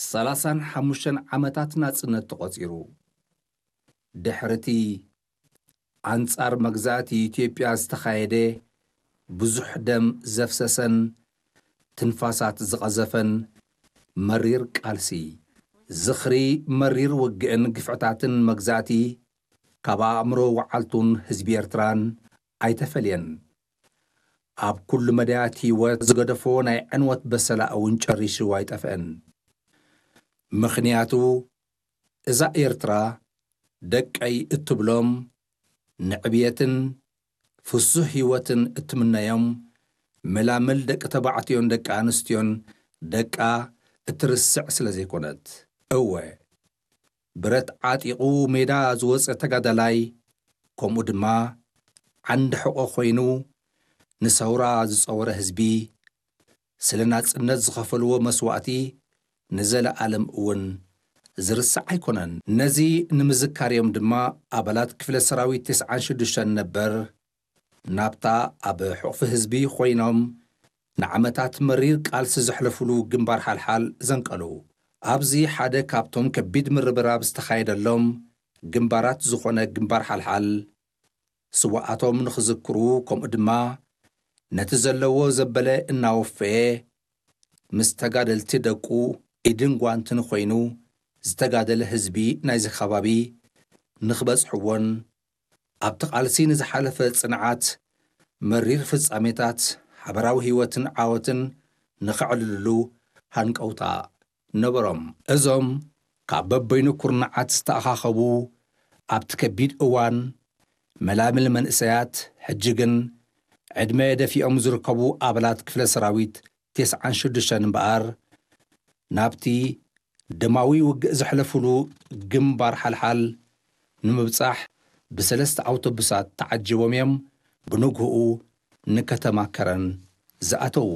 ሰላሳን ሓሙሽተን ዓመታት ናጽነት ተቖጺሩ። ድሕሪ እቲ ኣንጻር መግዛእቲ ኢትዮጵያ ዝተኻየደ ብዙሕ ደም ዘፍሰሰን ትንፋሳት ዝቐዘፈን መሪር ቃልሲ፣ ዝኽሪ መሪር ውግእን ግፍዕታትን መግዛእቲ ካብ ኣእምሮ ወዓልቱን ህዝቢ ኤርትራን ኣይተፈልየን። ኣብ ኩሉ መዳያት ህይወት ዝገደፎ ናይ ዕንወት በሰላ እውን ጨሪሱ ኣይጠፍአን። ምኽንያቱ እዛ ኤርትራ ደቀይ እትብሎም፣ ንዕብየትን ፍሱህ ህይወትን እትምነዮም መላምል ደቂ ተባዕትዮን ደቂ ኣንስትዮን ደቃ እትርስዕ ስለ ዘይኮነት። እወ፣ ብረት ዓጢቑ ሜዳ ዝወጸ ተጋዳላይ፣ ከምኡ ድማ ዓንዲ ሕቖ ኮይኑ ንሰውራ ዝጸወረ ህዝቢ፣ ስለ ናጽነት ዝኸፈልዎ መስዋእቲ ንዘለኣለም እውን ዝርስዕ ኣይኮነን። ነዚ ንምዝካር እዮም ድማ ኣባላት ክፍለ ሰራዊት ተስዓን ሽዱሽተን ነበር ናብታ ኣብ ሕቑፊ ህዝቢ ኮይኖም ንዓመታት መሪር ቃልሲ ዘሕለፉሉ ግንባር ሓልሓል ዘንቀሉ። ኣብዚ ሓደ ካብቶም ከቢድ ምርብራብ ዝተኻየደሎም ግንባራት ዝኾነ ግንባር ሓልሓል፣ ስውኣቶም ንኽዝክሩ፣ ከምኡ ድማ ነቲ ዘለዎ ዘበለ እናወፈየ ምስ ተጋደልቲ ደቁ ኢድን ጓንትን ኮይኑ ዝተጋደለ ህዝቢ ናይዚ ከባቢ ንኽበጽሕዎን ኣብቲ ቃልሲ ንዝሓለፈ ጽንዓት፣ መሪር ፍጻሜታት፣ ሓበራዊ ህይወትን ዓወትን ንኸዕልልሉ ሃንቀውታ ነበሮም። እዞም ካብ በበይኑ ኩርናዓት ዝተኣኻኸቡ ኣብቲ ከቢድ እዋን መላምል መንእሰያት፣ ሕጂ ግን ዕድመ ደፊኦም ዝርከቡ ኣባላት ክፍለ ሰራዊት ተስዓን ሽዱሽተን እምበኣር፣ ናብቲ ደማዊ ውግእ ዘሕለፉሉ ግንባር ሓልሓል ንምብጻሕ ብሰለስተ ኣውቶቡሳት ተዓጂቦም እዮም ብንግህኡ ንከተማ ከረን ዝኣተዉ።